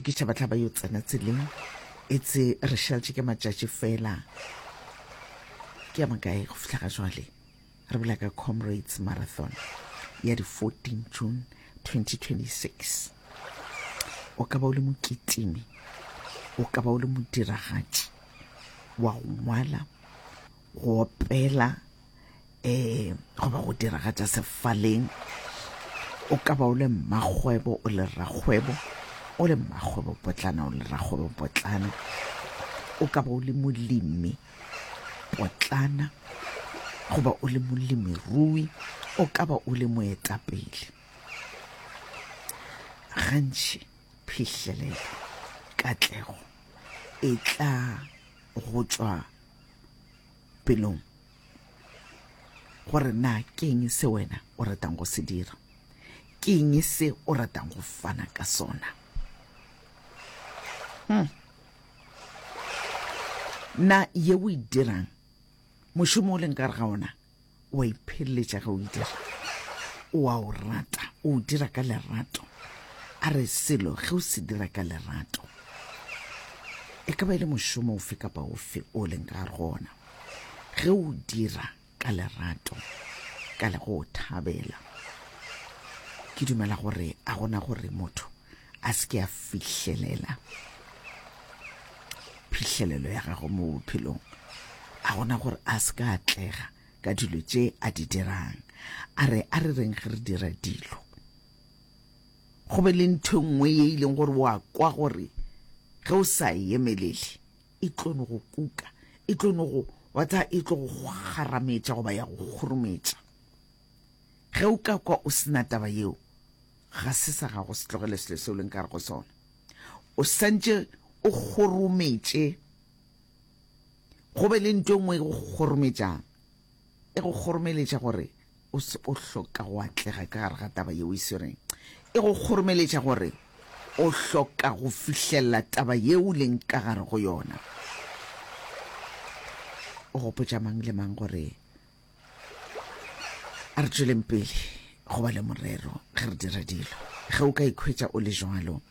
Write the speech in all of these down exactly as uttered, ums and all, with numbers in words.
itokiša, ba tla ba yo tsena tseleng. Etse re šaletše ke matšatši fela ke a makae go fihla ga jwale. Re bolela ka Comrades Marathon ya di fourteen June twenty twenty-six. O ka ba o le mokitimi, o ka ba o le modiragatši wa go ngwala, go opela, eh goba go diragatša sefaleng. O ka ba o le mmakgwebo, o le rakgwebo, o le mmakgwebo potlana, o le rakgwebo potlana. O ka ba o le molemi potlana, goba o le molemirui, o ka ba o le moetapele. Gantši phihlelelo, katlego e tla go tšwa pelong gore na ke eng se wena o ratang go se dira, ke eng se o ratang go fana ka sona. Hmm. Na ye o e dirang, mošomo o leng ka gare ga ona, o a ipheleletša ge o e dira, o a o rata, o o dira ka lerato. A re selo ge o se dira ka lerato, e ka ba e le mošomo ofe kapa ofe o leng ka gare go ona, ge o dira ka lerato, ka le go o thabela, ke dumela gore a gona gore motho a se ke a fihlelela phihlelelo ya gagwe mo bophelong, a gona gore a se ka atlega ka dilo tše a di dirang. A re, a re reng ge re dira dilo, go be le ntho e nngwe ye e leng gore wa kwa gore ge o sa e emelele e tlo no go kuka, e tlo no go, wa tseba, e tlo go kgarametša goba ya go kgurumetša. Ge o ka kwa o sena taba yeo, ga se sa gago, se tlogele selo seo leng ka gare go sona. O santše o kgorometše, go be le ntho e nngwe e go kgorometšang, e go kgoromeletša gore o se o hloka go atlega ka gare ga taba yeo e swereng, e go kgoromeletša gore o hloka go fihlelela taba yeo o leng ka gare go yona. O gopotša mang le mang gore a re tšweleng pele go ba le morero ge re dira dilo. Ge o ka ikhwetša o le jwalo,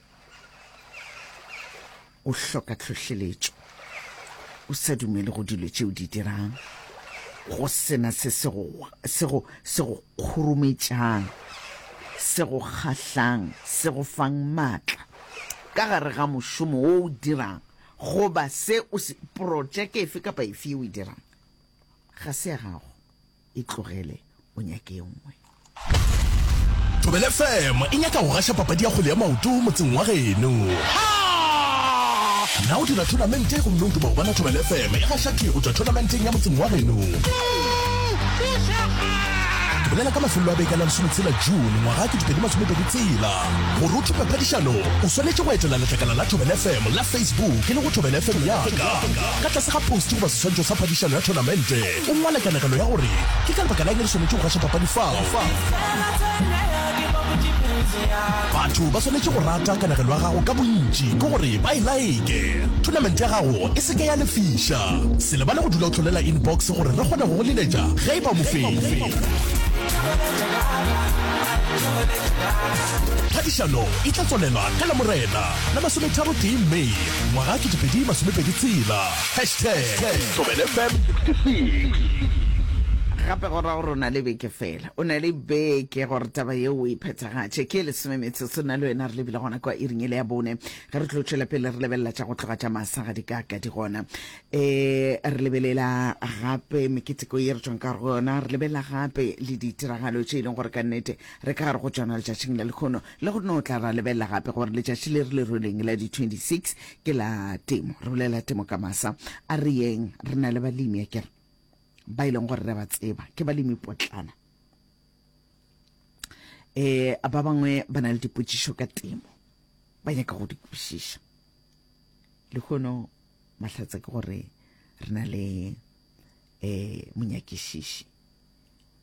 o hloka tlhohleletšo, o sa dumele go dilo tšeo di dirang, go sena se se go, se go, se go kgurumetšang, se go kgahlang, se go fang maatla ka gare ga mošomo wo o dirang, goba se o se, projeke efe kapa efe ye o e dirang, ga se ya gago, e tlogele o nyake e nngwe. Thobela F M e nyaka go gaša papadi ya kgwele ya maoto motseng wa geno. Na o dira thonamente gomme o duma go bona Thobela F M e gaša thwi go tšwa thonamenteng ya motseng wa geno? Ke bolela ka mafelelo a beke a la lesometshela June ngwaga ke dipedi masomepedi tshela. Gore o thope phadišano, o swanetše go etela letlakala la Thobela F M la Facebook e le go Thobela F M ya ka. Ka tlase ga post goba seswantšho sa phadišano ya thonamente, o ngwale kanegelo ya gore ke ka lebaka la eng re swanetše go gaša papadi fao. Batho ba swanetše go rata kanegelo ya gago ka bontši ke gore ba e like. Thonamente ya gago e se ke ya lefiša. Se lebale go dula o hlolela inbox gore re kgone go go leletša ge e ba o mofenyi. Phadišano e tla tswalelwa ka Lamorena la masometharo tee May ngwaga kete pedi masomepedi tshela. Hashtag Thobela F M sixty-six. Gape go ra gore o na le beke fela, o na le beke gore taba yeo o e phethagatše. Ke lesome metsotso nna le wena re lebile gona kwa iring ele ya bone, ge re tlo tšwela pele re lebelela tša go tloga tša masa ga di ka ka di gona. E re lebelela gape meketeko ye re tšwang ka gare go yona, re lebelela gape le ditiragalo tše e leng gore ka nnete re ka gare go tšona letšatšing la lekgono, le go no tla ra lebelela gape gore letšatši le re le rweleng la di twenty-six ke la temo. Re bolela temo ka masa, a re yeng, re na le balemi akere ba e leng gore re ba tseba ke balemi potlana. E ba bangwe ba na le dipotšišo ka temo, ba nyaka go di kwešiša. Lehono mahlatse ke gore re na le eh monyakišiši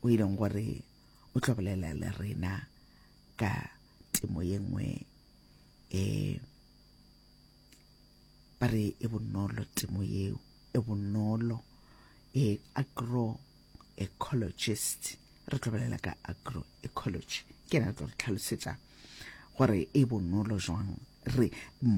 o e leng gore o tlo bolela le rena ka temo ye nngwe, eh ba re e bonolo temo yeo, e bonolo, e agroecologist. Re tlo bolela ka agroecology, ke yena a tlo re tlhalosetša gore e bonolo jwang, re